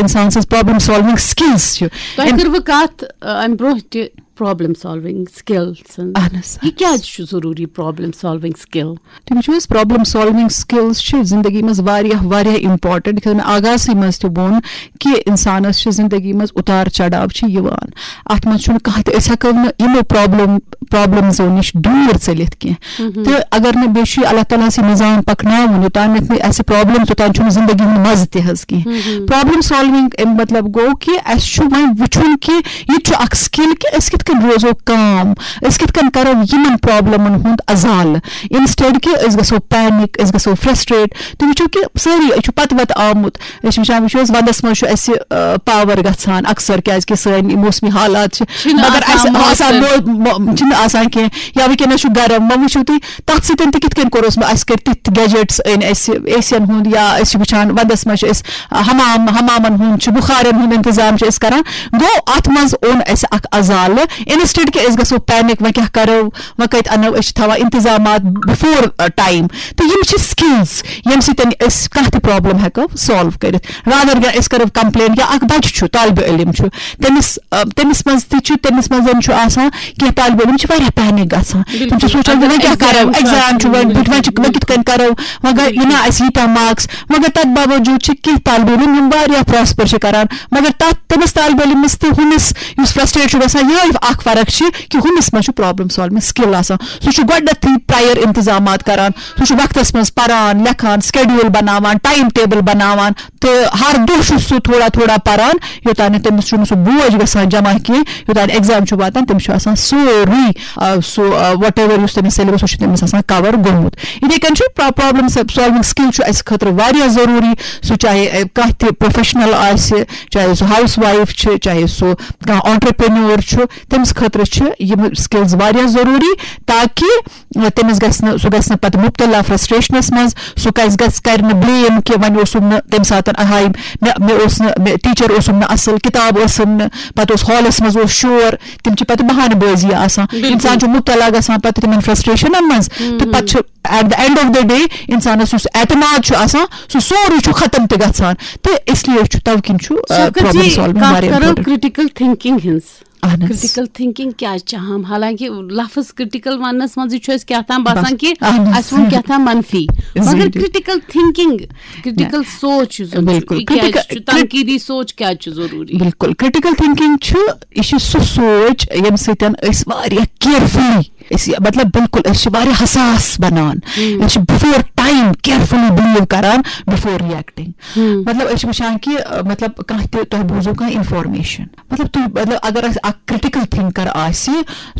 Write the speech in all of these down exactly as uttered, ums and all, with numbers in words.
اِنسان سٕنٛز problem سالوِنگ skills چھِ۔ تۄہہِ کٔروٕ کتھ، آ، امہِ برونٛہہ تہِ پرابلم سالوِنگ سکل سٕنٛز؟ اہن حظ، یہِ کیازِ چھُ ضروٗری پرابلم سالوِنگ سکل؟ تُہۍ وٕچھِو حظ، پرابلم سالوِنگ سکلز چھِ زندگی منٛز واریاہ واریاہ امپورٹنٹ۔ یِتھ کٔنۍ مےٚ آغازٕے منٛز تہِ ووٚن کہِ انسانس چھِ زندگی منٛز اُتار چڑاو چھِ یِوان، اتھ منٛز چھُنہٕ کانٛہہ تہِ، أسۍ ہٮ۪کو نہٕ یِمو پرابلم پرابلمزو نِش دوٗر ژٔلِتھ کینٛہہ۔ تہٕ اگر نہٕ، بیٚیہِ چھُ یہِ اللہ تعالیٰ ہس یہِ نظام پکناوُن، یوٚتام نہٕ اَسہِ پرابلم، توٚتام چھُنہٕ زندگی ہُنٛد مزٕ تہِ حظ کینٛہہ۔ پرابلم سالوِنگ اَمیُک مطلب گوٚو کہِ اَسہِ چھُ وۄنۍ وٕچھُن کہِ یہِ تہِ چھُ اکھ سکل کہِ أسۍ کِتھ کٔنۍ روزو کام، أسۍ کِتھ کٔنۍ کرو یِمن پرابلمن ہُنٛد ازالہٕ، انسٹیڈ کہِ أسۍ گژھو پینک، أسۍ گژھو فرسٹریٹ۔ تُہۍ وٕچھِو کہِ سٲری، أسۍ چھُ پتہٕ وتہٕ آمُت، أسۍ چھِ وٕچھان، وٕچھو حظ، ونٛدس منٛز چھُ اَسہِ، آ، پاور گژھان اکثر، کیازِ کہِ سٲنۍ موسمی حالات چھِ، چھِنہٕ مگر آسان اَسہِ آسان موثر۔ مو- مو- چھِنہٕ آسان کینٛہہ، یا وٕنکیٚنس چھُ گرم، وۄنۍ وٕچھِو تُہۍ، تَتھ سۭتۍ تہِ کِتھ کٔنۍ کوٚر اوس مےٚ، اَسہِ کٔرۍ تِتھۍ گیجٹس أنۍ اَسہِ، اے سی یَن ہُنٛد، یا أسۍ چھِ وٕچھان وَندَس منٛز چھِ أسۍ حمام، حمامَن ہُنٛد چھُ، بُخارٮ۪ن ہُنٛد اِنتظام چھِ أسۍ کَران۔ گوٚو، اَتھ منٛز اوٚن اَسہِ اَکھ عزالہٕ۔ اِنسٹیڈ کہِ أسۍ گژھو پینِک، وۄنۍ کیٛاہ کَرو، وۄنۍ کَتہِ اَنو، أسۍ چھِ تھاوان اِنتظامات بِفور ٹایم۔ تہٕ یِم چھِ سِکِلٕز، ییٚمہِ سۭتۍ أسۍ کانٛہہ تہِ پرابلم ہٮ۪کو سالو کٔرِتھ، رادر دین أسۍ کَرو کمپلین۔ یا اَکھ بَچہٕ چھُ، طالبہِ علم چھُ، تٔمِس آ، تٔمِس منٛز تہِ چھُ، تٔمِس منٛز چھُ آسان کینٛہہ طالبہِ علم چھِ واریاہ پینِک گژھان۔ تِم چھِ سونٛچان، وۄنۍ کیٛاہ کَرو، ایگزام چھُ وۄنۍ بُتھِ، وۄنۍ چھِ، وۄنۍ کِتھ کٔنۍ کَرو، وۄنۍ گٔے، یہِ نا اَسہِ ییٖتیٛاہ مارکس۔ مگر تَتھ باوجوٗد چھِ کینٛہہ طالبہِ علم یِم واریاہ پراسپر چھِ کَران، مگر تَتھ، تٔمِس طالبہِ علمَس تہٕ ہُمِس یُس فرسٹریٹ چھُ گژھان، یِہوٚے اَکھ فرق چھِ کہِ ہُمِس منٛز چھُ پرابلم سالوِنگ سِکِل آسان۔ سُہ چھُ گۄڈٕنٮ۪تھٕے پرٛایَر اِنتظامات کَران، سُہ چھُ وقتَس منٛز پَران، لیکھان، سکیڈیول بَناوان، ٹایم ٹیبل بَناوان، تہٕ ہر دۄہ چھُ سُہ تھوڑا تھوڑا پران، یوٚتام نہٕ تٔمِس چھُنہٕ سُہ بوج گژھان جمع کینٛہہ، یوٚتام ایگزام چھُ واتان، تٔمِس چھُ آسان سورُے، آ، سُہ، آ، وٹ ایور یُس تٔمِس سیلبس، سُہ چھُ تٔمِس آسان کور گوٚمُت۔ یِتھَے کٔنۍ چھُ پرابلم سالوِنگ سکِل چھُ اَسہِ خٲطرٕ واریاہ ضروٗری۔ سُہ چاہے، آ، کانٛہہ تہِ پروفیشنل آسہِ، چاہے سُہ ہاوُس وایف چھِ، چاہے سُہ کانٛہہ آنٹرپرینور چھُ، تٔمِس خٲطرٕ چھِ یِم سکِلز واریاہ ضروٗری، تاکہِ تٔمِس گژھِ نہٕ، سُہ گژھِ نہٕ پتہٕ مُبتلا فرسٹریشنس منٛز، سُہ کَزِ گژھِ، کرِ نہٕ بلیم کہِ وۄنۍ اوسُم نہٕ تَمہِ ساتہٕ، آہاے، مےٚ، مےٚ اوس نہٕ، مےٚ ٹیچر اوسُم نہٕ اصل، کِتاب ٲسٕم نہٕ، پتہٕ اوس ہالس منٛز اوس شور، تِم چھِ پتہٕ بہانہٕ بٲزی آسان۔ انسان چھُ مُبتلا گژھان پتہٕ تِمن فرسٹریشنن منٛز، تہٕ پتہٕ چھُ at the end of the day انسانس یُس اعتماد چھُ آسان، سُہ سورُے چھُ ختم تہِ گژھان۔ تہٕ اس لیے چھُ، توٕ کِنۍ چھُ، آ، شفقت پرابلم جی، سالوِنگ کتھ واریاہ کرو امپورٹنٹ۔ کرٹیکل تھنکنگ ہٕنٛز۔ اہن حظ۔ کرٹیکل تھنکنگ کیٛاہ چھِ اہم؟ حالانکہ لفظ کرٹیکل وننس منٛزٕے چھُ اَسہِ کیٛاہ تام باسان بس، کہِ اہن حظ۔ اَسہِ ووٚن کیٛاہ تام منفی، مگر Exactly۔ کرٹیکل تھنکنگ، کرٹیکل سوچ یُس زن چھُ، بِلکُل۔ یہِ کیٛازِ کرٹیکل، چھُ، تنقیٖدی سوچ کیٛازِ چھُ ضروٗری؟ بِلکُل، کرٹیکل تھنکنگ چھُ، یہِ چھُ سُہ سونچ ییٚمہِ سۭتۍ أسۍ واریاہ کیئرفُلی، أسۍ، مطلب، بِلکُل أسۍ چھِ واریاہ حساس بنان۔ أسۍ چھِ بِفور ٹایم کیئرفُلی بلیو کران، بِفور ریئیکٹنگ۔ مطلب، أسۍ چھِ وٕچھان کہِ، مطلب، کانٛہہ تہِ، تۄہہِ بوٗزو کانٛہہ انفارمیشن، مطلب، تُہۍ، مطلب، اگر اَسہِ اکھ کرٹیکل تھنکر آسہِ،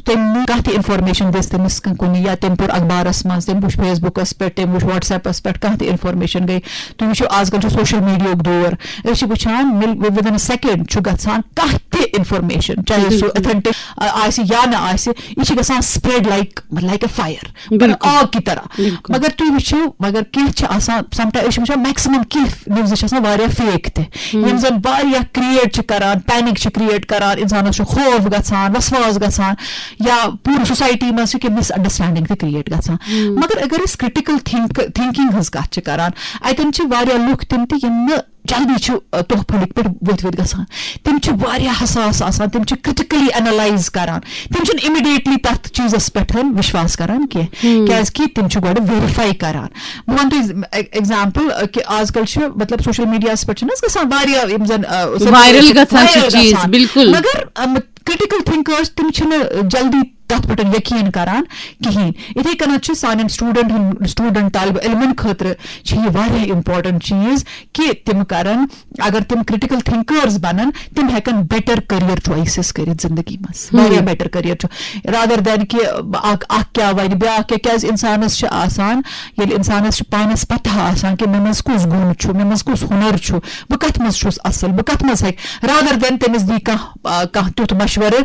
تٔمۍ نی کانٛہہ تہِ انفارمیشن دِژ تٔمِس کُنہِ، یا تٔمۍ پوٚر اخبارس منٛز، تٔمۍ وٕچھ فیس بُکس پٮ۪ٹھ، تٔمۍ وٕچھ وٹس ایپس پٮ۪ٹھ، کانٛہہ تہِ انفارمیشن گٔے۔ تُہۍ وٕچھِو، آز کل چھُ سوشل میڈیاہُک دور، أسۍ چھِ وٕچھان، within a second چھُ گژھان کانٛہہ تہِ انفارمیشن، چاہے سُہ اتھنٹک آسہِ یا نہ آسہِ، یہِ چھِ گژھان spread like، like a fire، بِلکُل۔ آگ کی طرح۔ مگر تُہۍ وٕچھِو، مگر کینٛہہ چھِ آسان، سم ٹایم أسۍ چھِ وٕچھان، میکسِمم کینٛہہ نِوزٕ چھِ آسان واریاہ فیک تہِ، یِم زن واریاہ کریٹ چھِ کران، پینک چھِ کریٹ کران، انسانس چھُ خوف گژھان، وسواس گژھان، یا پوٗرٕ سوسایٹی منٛز چھِ کینٛہہ مس انڈرسٹینڈنگ تہِ کریٹ گژھان۔ مگر اگر أسۍ کرٹیکل تھنک تھنکنگ ہٕنٛز کتھ چھِ کران، اتٮ۪ن چھِ واریاہ لُکھ تِم تہِ، یِم نہٕ جلدی چھِ، آ، تۄہہ پھٔلِکۍ پٲٹھۍ ؤتھۍ ؤتھۍ گژھان۔ تِم چھِ واریاہ حساس آسان، تِم چھِ کرٹیکلی اینالائز کران، تِم چھِنہٕ امیڈیٹلی تتھ چیزس پٮ۪ٹھ وشواس کران کینٛہہ، کیازِ کہِ تِم چھِ گۄڈٕ ویریفائی کران۔ بہٕ ونہٕ تۄہہِ ایگزامپل، آ، کہِ آز کل چھِ، مطلب، سوشل میڈیاہس پٮ۪ٹھ چھِنہٕ حظ گژھان واریاہ یِم زن، آ، سوشل میڈیا وائرل چھِ گژھان چھِ وائرل چیز، گژھان۔ بِلکُل۔ مگر، آ، کرٹیکل تھنکرز تِم چھِنہٕ جلدی تتھ پٮ۪ٹھ یقین کران کہیٖنۍ۔ یِتھے کٔنۍ چھُ سانٮ۪ن سٹوڈنٹن، سٹوڈنٹ طالبہ علمن خٲطرٕ چھِ یہِ واریاہ امپورٹنٹ چیز کہِ تِم کرن، اگر تِم کرٹیکل تھنکرز بنن، تِم ہیکن بیٹر کیریئر چوائسز کٔرِتھ زندگی منٛز۔ واریاہ بیٹر کیریئر چھُ، رادر دین کہِ اکھ، اکھ کیٛاہ ونہِ، بیٛاکھ کیٛاہ، کیازِ انسانس چھِ آسان، ییٚلہِ انسانس چھُ پانس پتہ آسان کہِ مےٚ منٛز کُس گُن چھُ، مےٚ منٛز کُس ہُنر چھُ، بہٕ کتھ منٛز چھُس اصل، بہٕ کتھ منٛز ہیٚکہٕ، رادر دین تٔمِس دی کانٛہہ، آ، کانٛہہ تیُتھ مشورٕ۔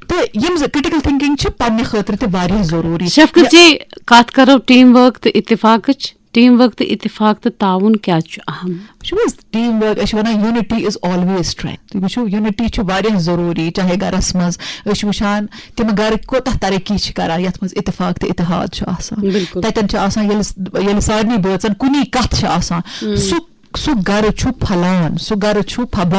تہٕ یِم زٕ کرٹیکل تھنکنگ چھِ پننہِ خٲطرٕ تہِ واریاہ ضروٗری۔ شفقت جی، کتھ کرو ٹیم ورک تہٕ اتفاقٕچ۔ ٹیم ورک تہٕ اتفاق تہٕ تعاون کیٛازِ چھُ اہم؟ وٕچھِو حظ، ٹیم ورک، أسۍ چھِ ونان unity is always strength۔ تُہۍ وٕچھِو، یونٹی چھِ واریاہ ضروٗری، چاہے گرس منٛز أسۍ چھِ وٕچھان، تِم گرٕ کوٗتاہ ترقی چھِ کران، یتھ منٛز اتفاق تہٕ اتحاد چھُ آسان۔ بِلکُل۔ تتٮ۪ن چھِ آسان، ییٚلہِ، ییٚلہِ سارنٕے بٲژن کُنی کتھ چھِ آسان، سُہ سُہ گرٕ چھُ پھۄلان، سُہ گرٕ چھُ پھۄبان۔